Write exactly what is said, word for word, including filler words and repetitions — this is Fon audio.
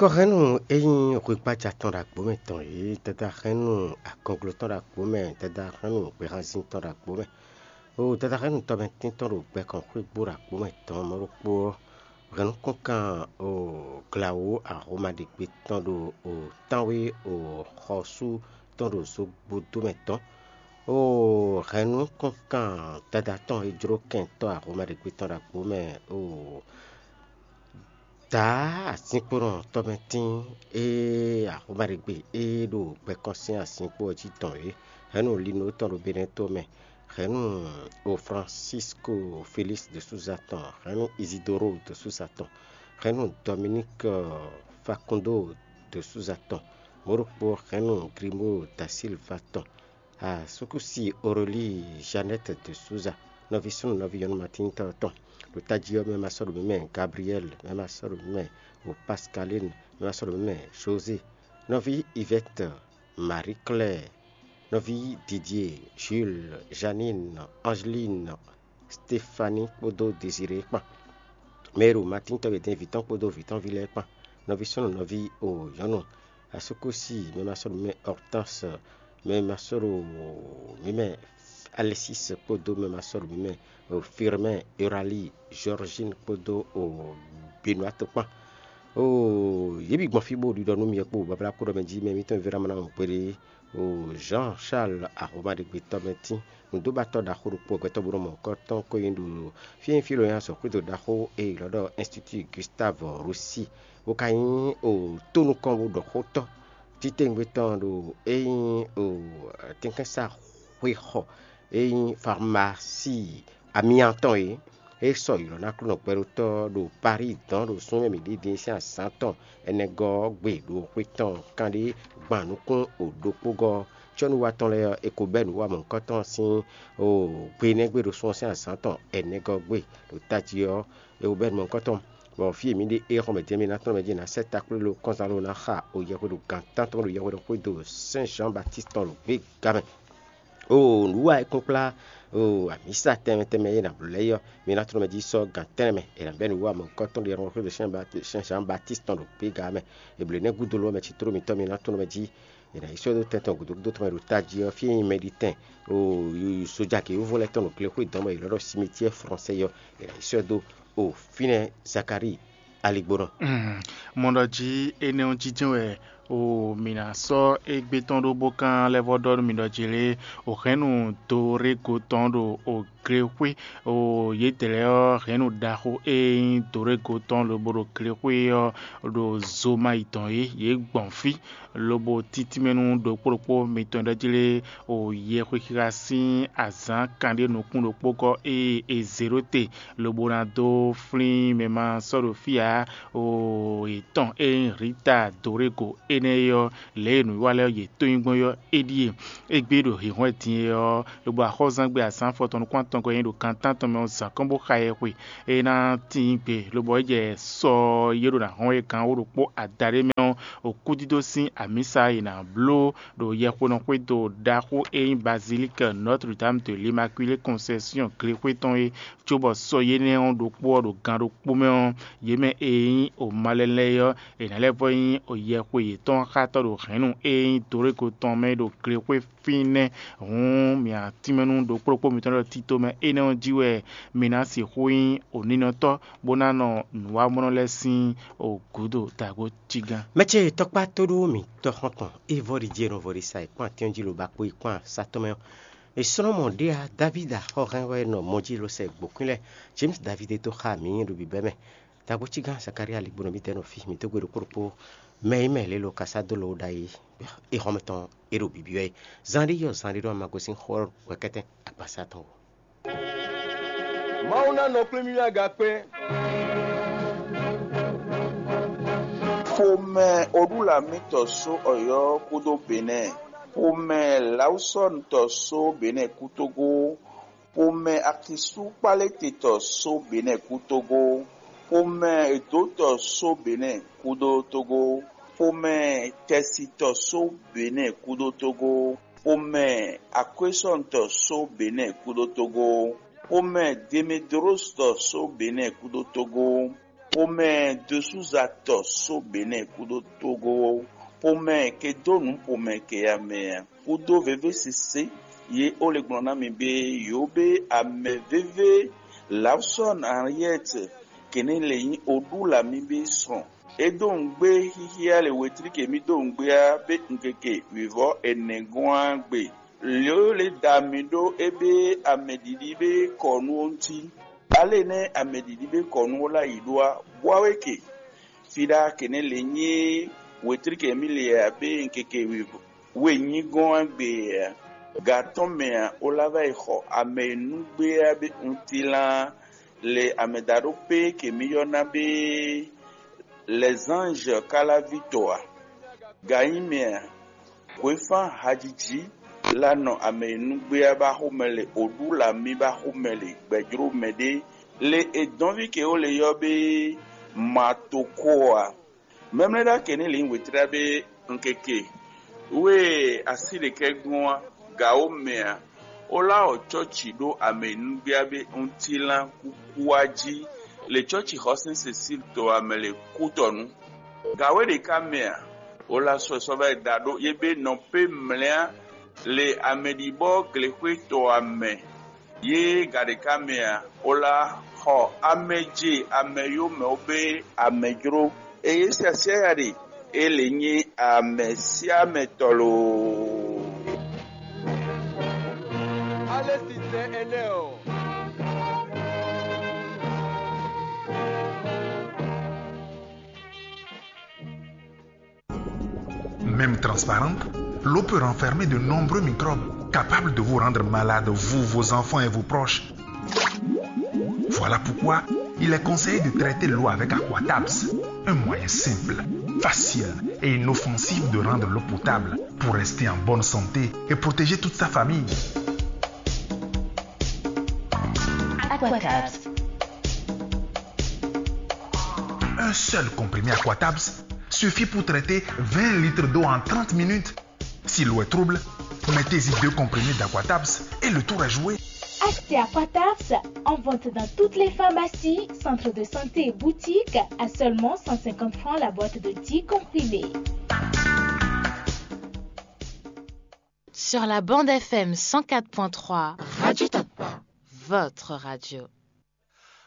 Hɛnnu e nyí hwegbaja tɔn ɖo agbo mɛ tɔn é, dada hɛnnu agɔnglo tɔn ɖo agbo mɛ, dada hɛnnu gbɛhanzin tɔn ɖo agbo mɛ, o dada hɛnnu tɔmɛtín tɔn ɖo gbɛkɔn xwégbó ɖo agbo mɛ tɔn mɔ̌ ɖokpó ɔ́, hɛn nukɔnkan o glawǒ ahomaɖegbe tɔn ɖo o tánwé o xɔsú tɔn ɖo zogbodó mɛ tɔn, o hɛn nukɔnkan dada tɔn e jló kɛntɔ́ ahomaɖegbe tɔn ɖo agbo mɛ o Dǎ azinkponɔ tɔmɛtín e Ahomaɖegbe e ɖo gbɛkɔ́ sín azinkpo ɔ́ jí tɔn é, hɛ̌nnu Lino tɔn ɖo Benɛ́to mɛ, hɛ̌nnu o Francisco Félix de Souza tɔn, hɛ̌nnu Isidoro de Souza tɔn, hɛ̌nnu Dominique Facundo de Souza tɔn, mɔ̌ ɖokpó hɛ̌nnu Grimaud da Silva tɔn. Asúkúsi Aurélie Jeannette de Souza, nɔví súnnu nɔví nyɔ̌nu Matín tɔn tɔn, ɖo tají ɔ́ mɛ ma sɔ́ ɖo mǐ mɛ Gabriel, mɛ ma sɔ́ ɖo mǐ mɛ o Pascaline, mɛ ma sɔ́ ɖo mǐ mɛ José, nɔví Yvette, Marie Claire, nɔví Didier, Jules, Janine, Angeline, Stéphanie kpódó Désiré kpán. Mɛ e ɖo Matín tɔn e dɛn vǐ tɔn kpódó vǐ tɔn ví lɛ́ɛ kpán, nɔví súnnu nɔví o nyɔ̌nu Asúkúsi, mɛ ma sɔ́ ɖo mǐ mɛ Hortense, mɛ ma sɔ́ ɖo mǐ mɛ Alexis kpódó mɛ ma sɔ́ ɖo mǐ mɛ Firmin, Euralie, Georgine kpódó o Benoît kpán. Oo, yě bǐ gbɔn fí bó ɖiɖɔ nú mi kpó bablá kúɖɔ mɛ jí mɛ mǐtɔn Vera mana mɔ kpéɖé. Oo, Jean Charles Ahomaɖegbe tɔn mɛ tín nǔdóbatɔ́ ɖaxó ɖokpó gbɛtɔ́ bó nɔ mɔ kɔ́ tɔn ko nyi ɖo fí e nyí fí e è nɔ nylá azɔ̌xwédo ɖaxó e è nɔ ylɔ́ ɖɔ Institut Gustave Roussy, bó ka nyí o tónúkɔn bó ɖɔ xótɔ́ titewungbe tɔn ɖo é nyí o tɛnkɛ́nsaxwéxɔ e nyí farmasi amyantɔn e é sɔ́ ylɔ́ ná Aklúnɔ gbɛɖótɔ́ ɖo Paris dɔn ɖo sún e mǐ ɖi din sín azǎn tɔn ɛnɛgɔ́ ɔ́ gbe ɖo xwe tɔn kanɖé gban nukún o ɖokpógɔ́ ɔ́. Cɔ́nuwa tɔn lɛ́ɛ ɔ́, è ko bɛ́ nǔ wa mɔ̌hunkɔtɔn sín o gbe énɛ́ gbe ɖo sún ɔ́ sín azǎn tɔn ɛnɛgɔ́ gbe ɖo tají ɔ́, è ko bɛ́ nǔ mɔ̌hunkɔtɔn. Bɔ fí e mǐ ɖe é xɔmɛ din ɔ́, mǐ ná tlɔ́n mɛ jí è nǎ sɛ́ takplé lo kɔnzán ló ná xa o yɛhweɖo gǎn tántɔn ɖo yɛhweɖo xwédo Sɛ́n Zǎn Batíst tɔn ɖo gběga mɛ. Oo, nǔwa e kúnkplá oo amǐsa tɛnmɛ tɛnmɛ e è nǎ bló lɛ́ɛ é ɔ́, mi ná tlɔ́n mɛ jí sɔ́ gan tɛ́nnɛ mɛ. È nǎ bɛ́ nǔwa mɔ̌hunkɔtɔn ɖiɖɔ xwé ɖo Sɛ́n Batíst tɔn ɖo gběga mɛ. È blǒ énɛ́ gúdo ló ɔ́, mɛ citló mitɔn mi ná tlɔ́n mɛ jí. È nǎ yi sɔ́ dó tɛn tɔn gǔdo gúdo tɔn mɛ ɖo tají ɔ́, fí e nyí Mɛɖitɛn. Oo, sojagěwúvɔ lɛ́ɛ tɔn ɖo glexwé dɔn bɔ è ylɔ́ ɖɔ simitiɛ́ flɔnsɛ́ ɔ́, è nǎ yi sɔ́ dó o fínɛ́ Zakalíi aligbó nɔ. Mɔ ɖɔ jí énɛ́ ɔ́ jínjɛ́n wɛ o mǐ ná sɔ́ égbé tɔn ɖó bó kán lɛ́ vɔ́ ɖɔ nú mi ɖɔ jí lé, o hɛ̌nnu Dorégo tɔn ɖo o glexwé, o yědɛɛ lɛ́ɛ ɔ́, hɛ̌nnu ɖaxó e nyí Dorégo tɔn lobo ɖo glexwé ɔ́ ɖo zo ma yi dɔn é, yě gbɔn fí, lobo títínmɛ nú ɖokpó ɖokpó mitɔn ɖɔ jí lé, o yɛhwexixa sín azǎn kanɖé nukún ɖokpó gɔ́ ée è zě ɖó te, lobo ná dó flín mɛ ma sɔ́ ɖo fí ǎ. O yětɔn e nyí Rita Dorego énɛ́ é ɔ́, lě e nǔwiwa lɛ́ɛ yě to nyi gbɔn é ɔ́, é ɖíe. Égbé ɖo hǐnhɔ́n din é ɔ́, lobo axɔ́zangbe azǎn afɔtɔn nukún atɔngɔ́ e nyí ɖo gan tántɔn mɛ ɔ́ zǎn kɔn bó xa ɛ xwe. É ná tíin gbe, lobo é jɛ sɔ e ɖo ná hɔn é gǎn wó ɖokpó adaɖé mɛ ɔ́, okúdídó sín amǐsa e è nǎ bló ɖo yɛxwenɔ xwédo ɖaxó e nyí Bazilík Notre Dame de l'Immaculée Conception glexwé tɔn é, cóbɔ sɔ yénɛ́ ɔ́ ɖokpó ɔ́ ɖo gan ɖokpó mɛ ɔ́, yě mɛ e nyí o malɛnlɛ́ é ɔ́, è nǎ lɛ́ vɔ́ nyí o yɛxwe yětɔn xátɔ́ ɖo hɛ̌nnu e nyí Dorego tɔn mɛ ɖo glexwé fínɛ́. Hǔn mǐ atínmɛnú ɖokpó ɖokpó mitɔn lɛ́ɛ ɖo tito mɛ énɛ́ ɔ́ jí wɛ mi ná sixú nyí o ninɔtɔ́, bó ná nɔ nǔwamɔnɔ lɛ́ɛ sín o gǔdo dǎgbó cí gán. Mɛ ce tɔkpá tóɖó mǐtɔ́ xɔ́ntɔn Evɔ́ɖi jí e nɔ vɔ ɖi sa e kpán atín jí lo ba kpó yi kpán satɔ́ mɛ ɔ́, è slɔ́ mɔ ɖé ǎ. Davídi axɔ́hɛn wɛ nɔ mɔ jí lo sɛ gbǒkwín lɛ́ɛ. James Davídi e dó xá mǐ ɖo bǐbɛ́ mɛ. Dǎgbó cí gán Zakalía ligbó nɔ mǐdɛɛ nɔ fí mǐ dó gbe ɖokpó ɖokpó mɛ e mɛ lě lo ka sá dó lo ɖ'ayǐ é xɔ́mɛ tɔn é ɖo bǐbí wɛ é. Zaanɖé yɔ zaanɖé ɖɔ ma gosín xó ɔ́ hwɛkɛ́tɛn agbasa tɔn o. Mawu ná nɔ kplé mì aga kpɛ́n. Xomɛ Oɖúlamítɔ só Ɔyɔ́ kúdó Benɛ́ɛ. Xomɛ Lawusɔ́ɔnutɔ só Benɛ́ɛ kú Tógó. Xomɛ Akisú Kpáléte tɔ só Benɛ́ɛ kú Tógó. Xomɛ Edǒtɔ só Benɛ́ɛ kúdó Tógó. Xomɛ Tɛsitɔ só Benɛ́ɛ kúdó Tógó. Xomɛ Akwésɔ́ɔntɔ só Benɛ́ɛ kúdó Tógó. Xomɛ Demedlóstɔ só Benɛ́ɛ kúdó Tógó. Xomɛ Dosúza tɔ só Benɛ́ɛ kúdó Tógó, xomɛ ke dó nǔ xomɛ ke ya mɛ ǎ, kúdó vévé sésé. Yě ó lě gblɔ́n ná mi bé yǒ bé amɛ vévé Lawsɔ́n Ariɛ́t, kěnɛ́ lě nyí Oɖúlamí bé sɔn. É dó nǔgbé xíxíá lě wětlíke mì dó nǔgbé á bé un keke wǐvɔ́ ɛnɛ gɔ́n á gbe. Lě ó lě da mì ɖó é bé amɛɖiɖi bé kɔ nú ó ŋuti. Alé nɛ́ amɛɖiɖi bé kɔ nú ó lá yi ɖó á, bwá wé ke. Fí ɖá kěnɛ́ lě nyí wětlíke mì lě ǎ bé un keke wǐvɔ́ we nyí gɔ́n ǎ gbe ǎ. Gǎn tɔn mɛ ǎ, ó lá vá yi xɔ amɛ e nú gbé ǎ bé untílán le amɛ da ɖó pé ke mì ylɔ́ ná bé lɛ̌zánzhɛ ká lá ví tɔ ǎ. Gǎn nyí mɛ ǎ, hwefán hajiji lá nɔ amɛ e nú gbé ǎ bá xomɛ le, oɖú lamí bá xomɛ le, gbɛ̌jló mɛɖé le è dɔn ví ke ó le ylɔ́ bé matoko ǎ. Mɛmlɛ́ ɖó akɛ n'i lǐn wětrá bé un keke. Wé e así ɖě kɛ gbɔn ɔ́, gǎ ó mɛ ǎ. Ó lá ɔ cɔ́ci ɖó amɛ e nú gbé ǎ bé un tílán kúkú wá jí le cɔ́ci xɔsɛ́n Sesíl to amɛ le kútɔnú. Gǎ wé ɖě ká mɛ ǎ. Ó lá sɔ́ ɛ sɔ́ vá yi da ɖó yé bé nɔ pé mlɛ́ le amɛɖibɔ́ glexwé to amɛ. Yě gǎ ɖě ká mɛ ǎ, ó lá xɔ amɛ ce amɛ yó mɛ ó bé amɛ jló. Eye siasia ya ɖe, é lě nyí amɛ síá mɛ tɔ loo. Même transparente, l'eau peut renfermer de nombreux microbes capables de vous rendre malade, vous, vos enfants et vos proches. Voilà pourquoi il est conseillé de traiter l'eau avec Aquatabs, un moyen simple, facile et inoffensif de rendre l'eau potable pour rester en bonne santé et protéger toute sa famille. Aquatabs. Un seul comprimé Aquatabs suffit pour traiter vingt litres d'eau en trente minutes. Si l'eau est trouble, mettez-y deux comprimés d'Aquatabs et le tour est joué. Achetez Aquatabs en vente dans toutes les pharmacies, centres de santé et boutiques à seulement cent cinquante francs la boîte de dix comprimés. Sur la bande F M cent quatre point trois, Radio Tapa, votre radio.